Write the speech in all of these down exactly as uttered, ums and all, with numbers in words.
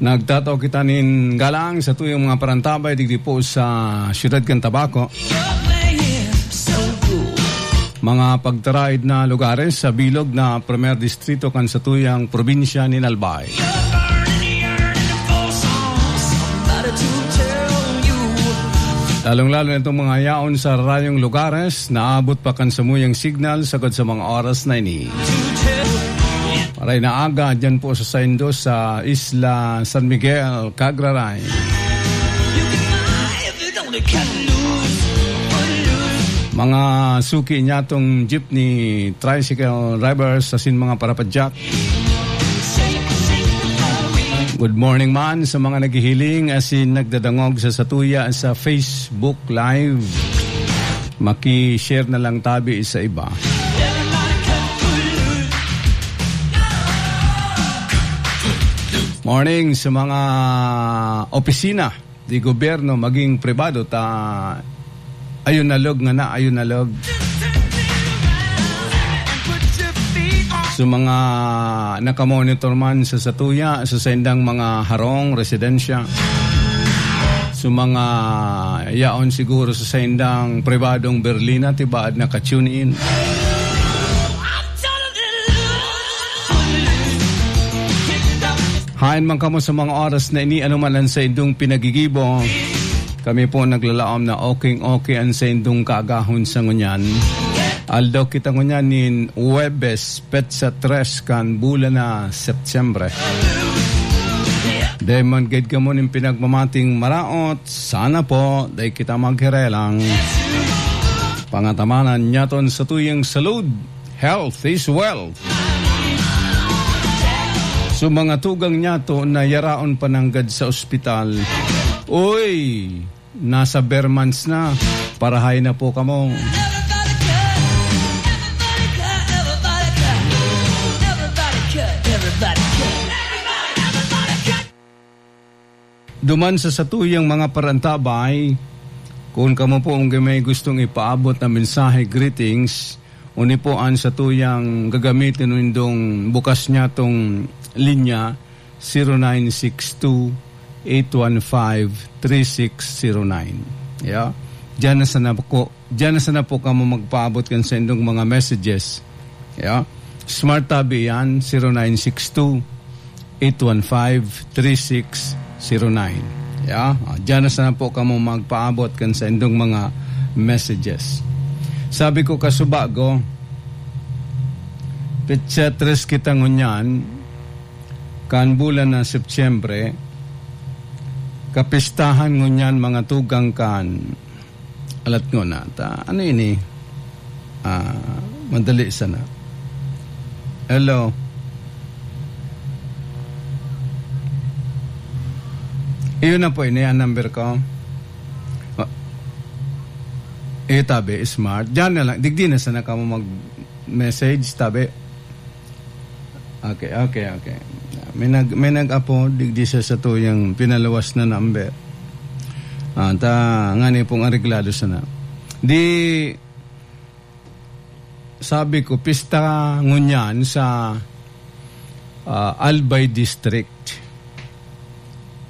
Nagtatao kita nin galang sa tuyong mga parantabay digdi po sa siyudad kan Tabaco. Mga pagtaraid na lugares sa bilog na Primer Distrito kan satuyang probinsya nin Albay. Lalong-lalo na itong mga yaon sa rayong lugares, naabot pa kan samuyang signal sagad sa mga oras na ini. Maray na aga dyan po sa saindo sa Isla San Miguel, Cagraray. Mga suki niya tong jeepney, tricycle drivers, asin mga parapadyak. Good morning man sa mga naghihiling asin nagdadangog sa satuya sa Facebook Live. Maki-share na lang tabi sa iba. Morning sa mga opisina di gobyerno maging pribado ta ayun na log nga na, ayun na log. So, mga nakamonitor man sa satuya, sa saindang mga harong, residensya, so, mga yaon siguro sa saindang pribadong berlina, tibaad naka-tune in. Haen man kamo sa mga oras na ini, ano man ang saindong pinagigibo, kami po naglalaom na okay-okay ang saindong kaagahon sa ngunyan. Aldaw kita ngunyan nin Huwebes, petsa tres kan bulan na Setyembre. Dai man gad kamo nin pinagmamating maraot, sana po, dai kita maghirelang. Pangatamanan niyaton sa tuyang salud. Health is wealth. So, mga tugang niyato na yaraon pa nanggad sa ospital. Uy, nasa ber months na. Parahay na po kamo. Duman sa satuyang mga parantabay, kun kamo po ang may gustong ipaabot na mensahe, greetings, uni po an satuyang gagamitin nindong bukas niyatong linya, zero nine six two, eight one five, three six zero nine. Yeah. Diyan na sana po, diyan na sana po kamo magpaabot kan saindong mga messages. Yeah. Smart tabi yan, zero nine six two, eight one five, three six zero nine. Yeah. Ah, diyan na sana po kamo magpaabot kan saindong mga messages. Sabi ko, kasubago, petsa tres kita ngunyan, kan bulan na Setyembre, kapistahan ngunyan mga tugang kan alat ngona ta. Ano ini? Ah, madali sana. Hello. Iyon na po ini ang number ko. Ah, eh, tabi, smart. Diyan na lang. Digdi na sana kamo mag-message, tabi. Okay, okay, okay. May nag-, may nag-apo, digdi sa satuyang pinaluwas na number. Ah, ta, ngani pong areglado sana. Di, sabi ko, pista ngunyan sa, ah, Albay District.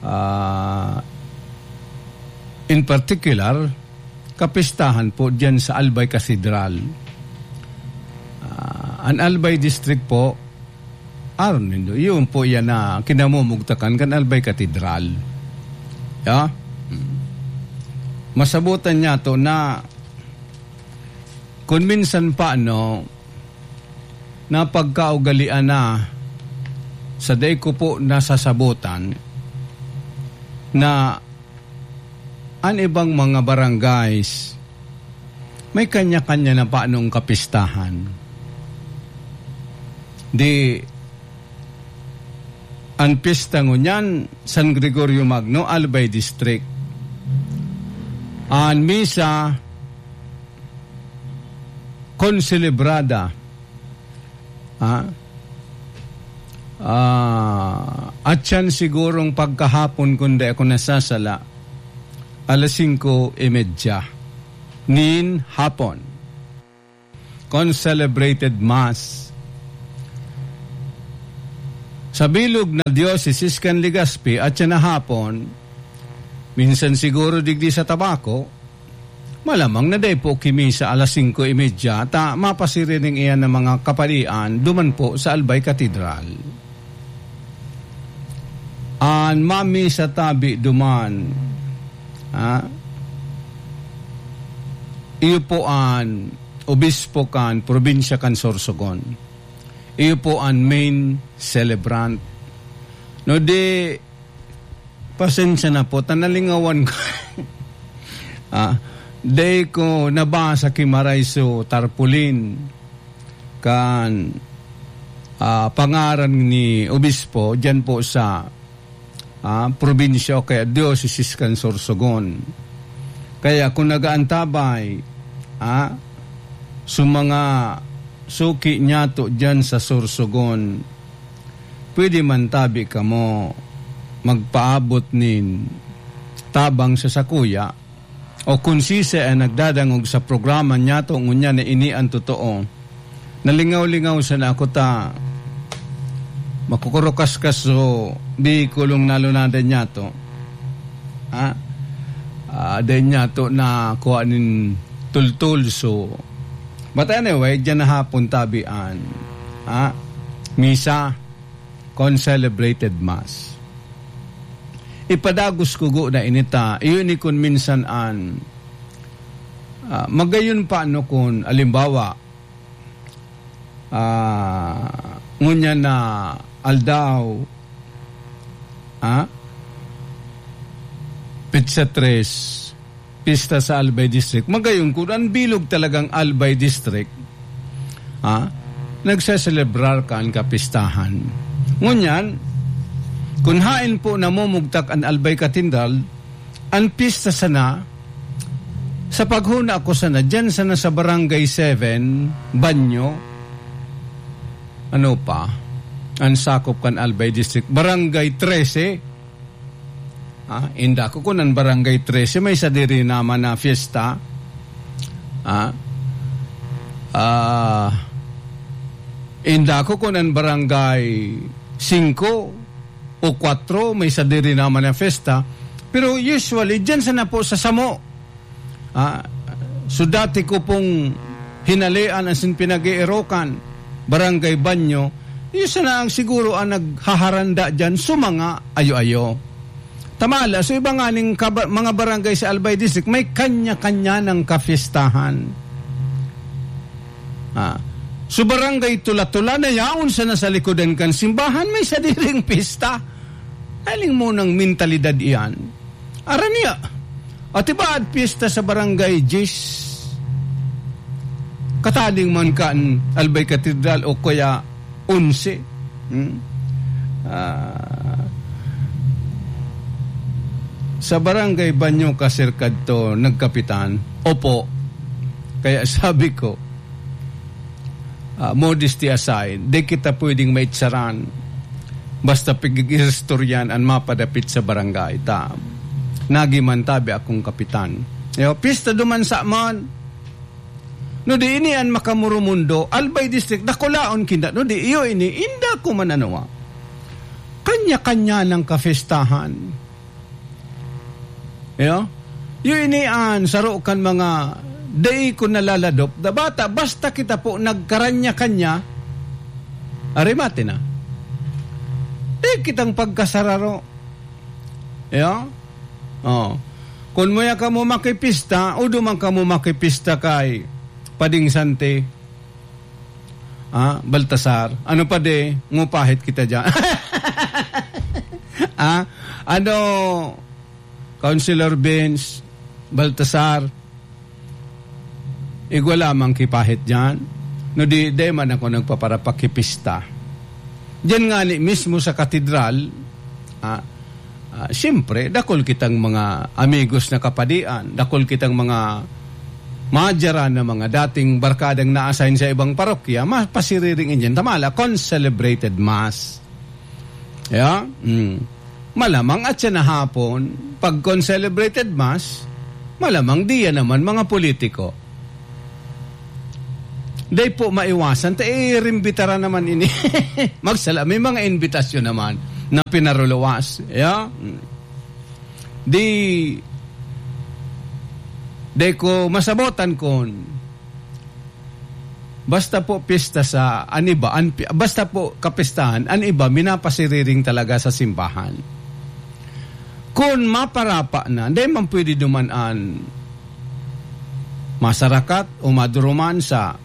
Ah, in particular, kapistahan po diyan sa Albay Cathedral. Ah, an Albay District po, aron nindo, iyon po yan na kinamumugtakan kan Albay Cathedral. Ya? Hmm. Masabutan niyato na kun minsan pa, no, napagkaugalian na sa dai ko po nasasabutan na an ibang mga barangays may kanya-kanya na panong kapistahan. Di, an pista ngunyan, San Gregorio Magno, Albay District. An misa, konselebrada. Ha? Ah, at yan sigurong pagkahapon, kung di ako nasasala, alas singko y media nin hapon. Concelebrated Mass. Sa bilog na diosesis kan Legazpi at siya na hapon, minsan siguro digdi sa Tabaco, malamang na dai po kimisa alas singko y media, ta mapasiriring iyan ng mga kapadian duman po sa Albay Katedral. An mamisa tabi duman, ah, iyo po an obispo kan probinsya kan Sorsogon. Iyo po an main celebrant. No di, pasensya na po, ta nalingawan ko. Ah, dai ko nabasa ki Maray so tarpaulin kan, ah, pangaran ni obispo diyan po sa, ah, probinsya o kaya diosesis kan Sorsogon. Kaya kung nagaantabay, ah, sa mga suki niyato diyan sa Sorsogon, pwede man tabi kamo magpaabot nin tabang sa sakuya, o kun sisay an nagdadangog sa programa niyato ngunyan na ini an totoo. Nalingaw-lingaw sana ako ta makukurukaskas so bihikulong nalunadan niyato. Ha? Ah, dai niyato na kuha nin tultol. So, but anyway, diyan na hapon tabi an, ha? Misa, concelebrated mass. Ipadagos ko go na inita, iyo ni kun minsan an, ah, magayon pa no kun, alimbawa, ah, ngunyan na aldaw, ah, petsa tres, pista sa Albay District. Magayon kun an bilog talagang Albay District, ah, nagseselebrar kan kapistahan. Ngunyan, kun haen po namumugtak an Albay Katedral, an pista sana, sa paghuna ko sana, diyan sana sa Barangay seven, Banyo, ano pa, an sakop kan Albay District, Barangay trese, ah, inda ko kun an Barangay trese, may sadiri naman na fiesta. Ah, ah, inda ko kun an Barangay singko o kwatro, may sadiri naman na fiesta. Pero usually, diyan sana po sa samo. Ah, so dati ko pong hinalean asin pinag-eerokan, Barangay Banyo, iyo sana ang siguro ang naghaharanda diyan sa mga ayo-ayo. Tamala, so iba nga ning kaba-, mga barangay sa Albay District, may kanya-kanya ng kapistahan. Ah, so Barangay Tula-Tula na yaon sana sa likodan kan simbahan, may sadiring pista. Aling mo ng mentalidad iyan. Aram niya, ati ba at piyesta sa Barangay Diyes? Kataling man kan Albay Katedral o kaya onse. Hmm? Ah, sa Barangay Banyo ka, Sir, kadto nagkapitan? Opo. Kaya sabi ko, ah, modesty aside, di kita pwedeng maitsaran. Basta pag-iistoryan an mapadapit sa barangay ta. Nagi man tabi akong kapitan. Yo, pista duman sa man. No di ini an makamurumundo, Albay District, dakulaon kinda. No di iyo ini, inda ko man anuwa. Kanya-kanya ng kafestahan. Yo? Yo ini an saro kan mga dai ko nalaladop. Da bata, basta kita po nagkaranya-kanya, arimate na. Di kitang pagkasararo. Yo? Oh. Kun muya kamo makipista, o duman kamo makipista kay Pading Sante, ah, Baltasar. Ano pa de, ngupahit kita dyan. Ah, ano, Councilor Vince, Baltasar, igwa lamang kipahit dyan. No di, di man ako nagpaparapakipista. Diyan nga ni mismo sa katedral, ah, ah, siyempre, dakul kitang mga amigos na kapadian, dakul kitang mga madyaran na mga dating barkadang na-assign sa ibang parokya, mapasiriring dyan. Tamala, concelebrated mass. Yeah? Mm. Malamang at siya na hapon, pag concelebrated mass, malamang diya naman mga politiko. Dai po maiwasan, ta, eh, rimbitara naman ini. Magsala, may mga imbitasyon naman na pinaruluwas. Yeah? Di, di ko masabotan kun basta po piyesta sa an iba, an pi-, basta po kapistahan, an iba minapasiriring talaga sa simbahan. Kun maparapa na, dai man pwede duman an masarakat o maduruman sa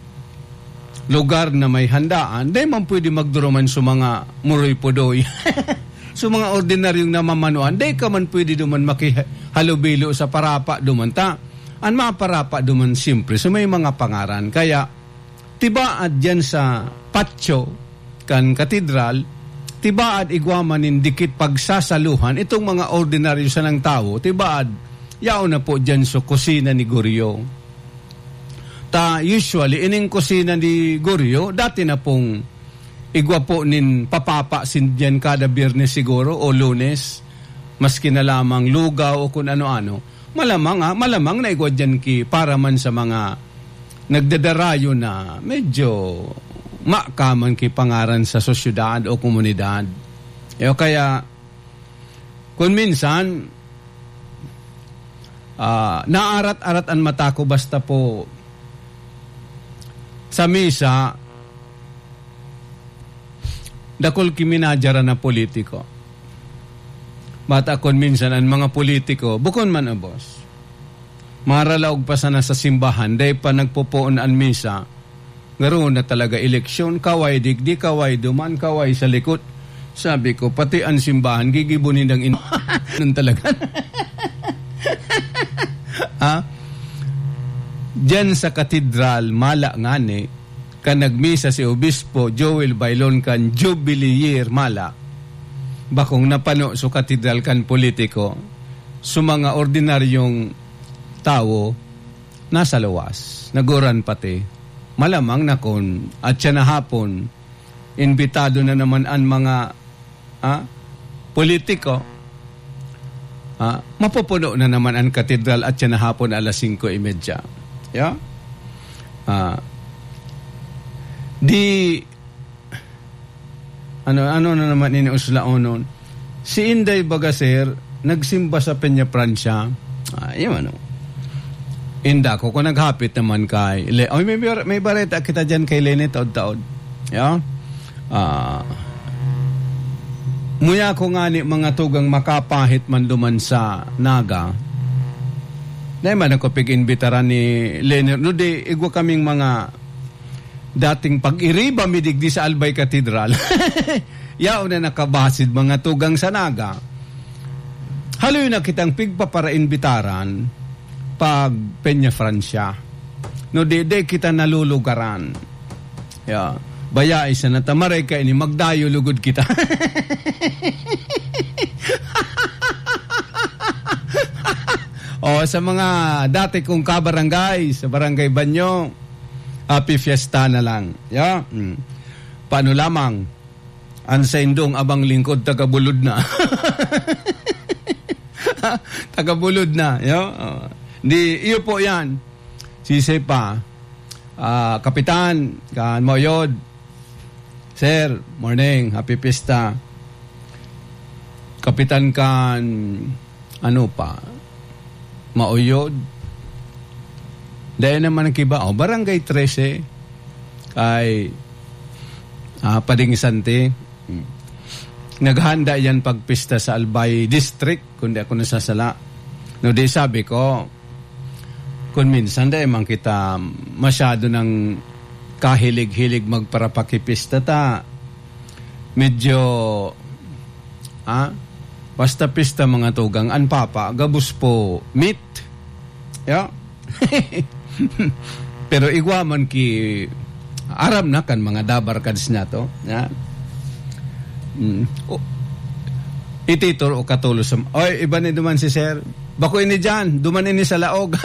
lugar na may handaan, dai man pwede magduruman sa mga muroy-pudoy. Sa mga ordinaryong namamanuan, dai ka man pwede duman makihalubilo sa parapa duman ta. An maparapa duman, siyempre, sa may mga pangaran. Kaya, tibaad diyan sa patio kan katedral, tibaad igwa man nin dikit pagsasaluhan itong mga ordinaryo sanang tawo, tibaad, yaon na po diyan sa kusina ni Gorio. Ta, usually, ining kusina ni Gorio, dati na pong igwa po nin papapa sindihan kada Biyernes siguro o Lunes, maski na lamang lugaw o kun ano-ano. Malamang, ah, malamang na igwa diyan ki para man sa mga nagdadarayo na medyo makaman ki pangaran sa sosyedad o komunidad. Eh, o kaya, kun minsan, ah, naarat-arat an mata ko basta po sa misa, dakul ki minadyaran na politiko. Bata kun minsan an mga politiko, bukon man, ah, boss. Maralaog pa sana sa simbahan, dai pa nagpopoon an misa. Garo na talaga eleksyon, kaway digdi, kaway duman, kaway sa likod. Sabi ko, pati an simbahan, gigibo nindang in-, nun talaga. Ha? Diyan sa katedral, mala ngani, kan nagmisa si Obispo Joel Bailon kan Jubilee Year, mala. Bakong napano sa katedral kan politiko, sa mga ordinaryong tawo, nasa luwas, naguran pati. Malamang na kun, at siya na hapon, imbitado na naman an mga, ah, politiko, ah, mapupuno na naman an katedral at siya na hapon alas singko y media. Yeah? Ah, di, ano, ano na naman ini uslaonon? Si Inday baga, sir, nagsimba sa Peñafrancia. Ah, yun ano. Inda ko, kung naghapit naman kay Le-, oy, may bar-, may bareta kita dyan kay Lene taod-taod. Yeah? Ah, muya ko nga ni mga tugang makapahit man duman sa Naga. Dai man ako pig-imbitaran ni Lene. No, di, igwa kaming mga dating pag-iriba mi digdi sa Albay Cathedral. Yaon na nakabasid mga tugang sa Naga. Haloy na kitang pigpaparainbitaran pag Peñafrancia. No, di, di kita nalulugaran. Ya, bayai sana ta maray kaini, magdayo lugod kita. O, sa mga dati kong kabarangay, sa Barangay Banyo, happy fiesta na lang. Ya, mm. Paano lamang? An saindong abang lingkod, taga-Bulod na. Taga-Bulod na, yo? Oh. Di, iyo po yan. Sisay pa. Ah, Kapitan, kan Mauyod. Sir, morning. Happy Pista. Kapitan kan, ano pa? Mauyod. Dahil naman ang kiba, oh, Barangay trese. Kay, ah, Pading Sante. Hmm. Naghanda yan pagpista sa Albay District, kung di ako nasasala. No, di sabi ko, kung minsan, di man kita masyado nang kahilig-hilig magparapakipista ta. Medyo, ah, basta pista mga tugang, an papa, gabos po, meat. Ya? Pero igwa man ki aram na kan mga dabarkads na to. Ya? Mm. O, ititol o katulos sa, oy, iba ni duman si sir. Bako ini dyan, duman ini sa laog.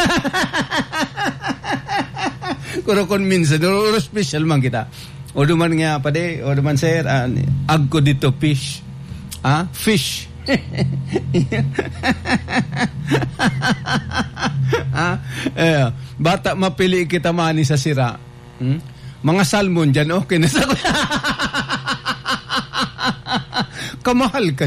Pero kung minsan, duro, duro special man kita. O duman nga, padi, o duman, sir, ah, agko dito, fish. Ah, fish. Ah, eh, bata, mapili kita mani sa sira. Hmm? Mga salmon dyan, okay na sa kamahal ka